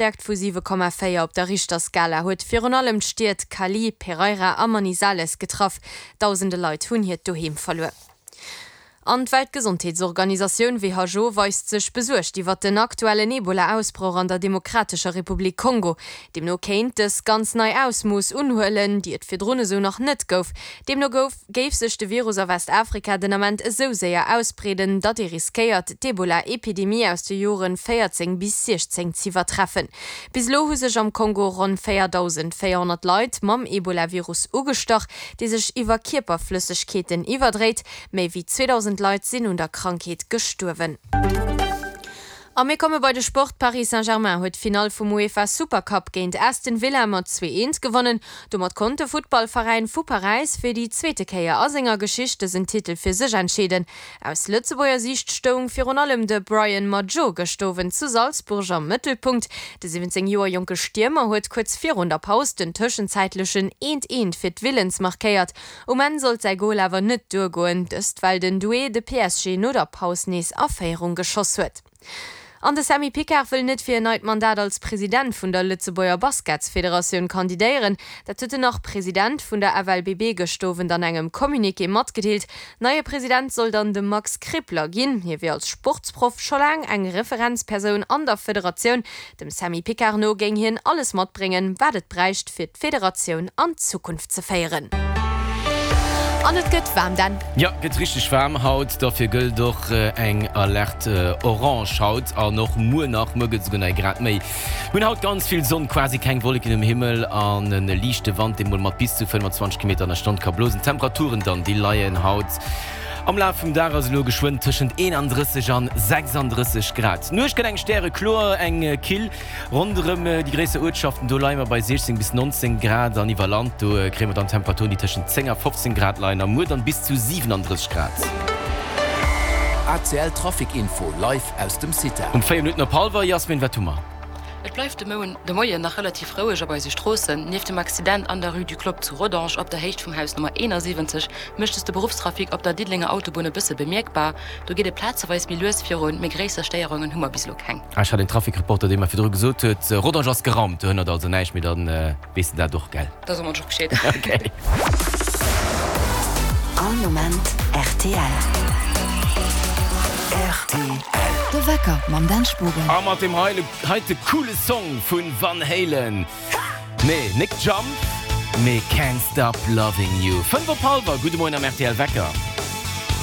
D'Stäerkt vu 7,4 op der Richterskala huet virun allem d'Stied Cali, Pereira a Manizales getraff. Dausende Leit hunn hiert Doheem verluer. An d'Weltgesondheetsorganisatioun who weist sech besuergt iwwert den aktuellen Ebola-Ausbroch an der Demokratescher Republik Kongo. Deemno kéint dës ganz nei Ausmooss unhuelen, déi et virdrun esou nach net gouf. Deemno gouf géif sech de Virus a Westafrika den Ament esou séier ausbreeden, datt ee riskéiert, d'Ebola-Epidemie aus de Joren 14 bis 16 z'iwwertreffen. Bis elo hu sech am Kongo ronn 4.400 Leit mam Ebola-Virus ugestach, dee sech iwwer Kierperflëssegkeeten iwwerdréit. Méi wéi 2.000 Leit sinn un der Krankheet gestuerwen. A mir komme bei de Sport, Paris Saint-Germain huet d'Finall vum UEFA Supercup géint Aston Villa mat 2, 1 gewonnen. Domat konnt de Futtballveräin vu Paräis fir déi zweete Kéier a senger Geschicht dësen Titel fir sech entscheeden. Aus Lëtzebuerger Siicht stoung virun allem de Brian Madjo gëscht Owend zu Salzburg am Mëttelpunkt. De 17 Joer jonke Stiermer huet kuerz virun der Paus den tëschenzäitlechen 1, 1 fir d'Villans markéiert. Um Enn sollt säi Gol awer net duergoen, dëst well den Doué de PSG no der Paus nees a Féierung geschoss huet. An de Sammy Picard wëll net fir en neit Mandat als President vun der Lëtzebuerger Basketsfederatioun kandidéieren. Dat huet den Nach-President vun der FLBB gëscht Owend an engem Communiqué matgedeelt. Neie President soll dann de Max Krippler ginn. Hie wier als Sportsproff scho laang eng Referenzpersoun an der Federatioun. Dem Sammy Picard no géing hien alles matbréngen, wat et bräicht, fir d'Federatioun an d'Zukunft ze féieren. An et gëtt waarm, Dan. Jo, gëtt richteg waarm haut. Dofir gëllt och eng Alerte orange haut an och muer nach. Muer gëtt esouguer nach ee Grad méi. Mir hunn haut ganz vill Sonn, quasi keng Wolleken um Himmel an e liichte Wand, dee mol mat bis zu 25 Kilometer an der Stonn ka blosen. D'Temperaturen dann, déi leien haut Am Laf vum Dag ass elo geschwënn tëschent 31 an 36 Grad. D'Nuecht gëtt eng stärekloer, eng kill ronderëm déi gréisser Uertschaften. Do leie mer bei 16 bis 19 Grad an iwwer Land, do kréie mer dann Temperaturen, déi tëschent 10 a 15 Grad leien a muer dann bis zu 37 Grad. ACL Trafic Info live aus dem CITA. Um 4 Minutten op hallwer, Jasmin, wat hu mer? Et bleift de Moien nach relativ roueg op eise Stroossen. Nieft dem Accident an der Rue du Clopp zu Rodange op der Héicht vum Haus Nummer 71 mécht es de Beruffstrafic op der Diddelenger Autobunn e bësse bemierkbar. Do geet et plazeweis méi lues virun, mee gréisser Stéierungen hu mer bis elo keng. Ech hat een Traficreporter, dee mer virdru gesot huet, Rodange ass geraumt, do hënnert also näischt méi, dann weess de dat och, gell? Da soe mer och Bescheed. Okay. All Moment rtl. Rtl. De Wecker mam Dan Spogen. A mat deem heite coole Song vu Van Halen, nee, nik Jump, mee Can't Stop Loving You. 5 op hallwer, gudde Moien am rtl Wecker.